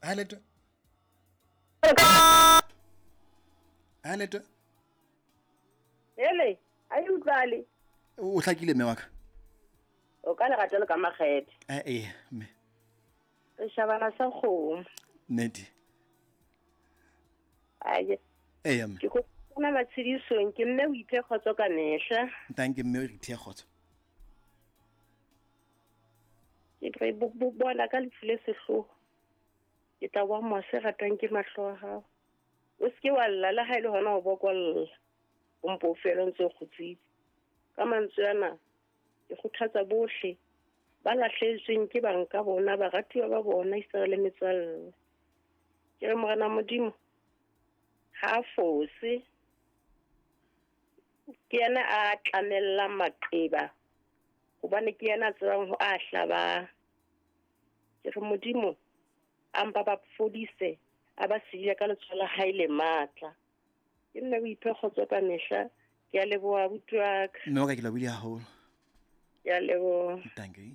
Ha letwe. Ha letwe. Hele, a e utlwale. O hlakile mme wa ka. O ka lerato le ka makgethe. Eh eh mme. Re shabana sa kgomo. Nnete. Aye. Eya mme. Ke go bona matshedisong ke mme o iphe kgotso ka mehla. Thank you mme o re iphe kgotso. Ke re bona ka lefu le sehloho. Ke tla wa mose ratwang ke mahlo a hao. O se ke wa lla le ha e le hona ho bokolla. O mpo o fele o ntse o kgutsitse. Ka mantswe ana ke kgothatsa bohle ba lahlehetsweng ke bang ka bona, baratuwa ba bona, esita le metswalle. Ke re Morena Modimo ha a fose. Ke yena a tlamellang maqeba hobane ke yena a tsebang ho a hlabang. Ke re Modimo a mpa ba fodise, a ba siile ka letsoho la hae le matla. Ke nna o iphe kgotso ka mehla. Ke a leboha abuti wa ka. Mme wa ka ke lebohile haholo. Ke a leboha. Thank you.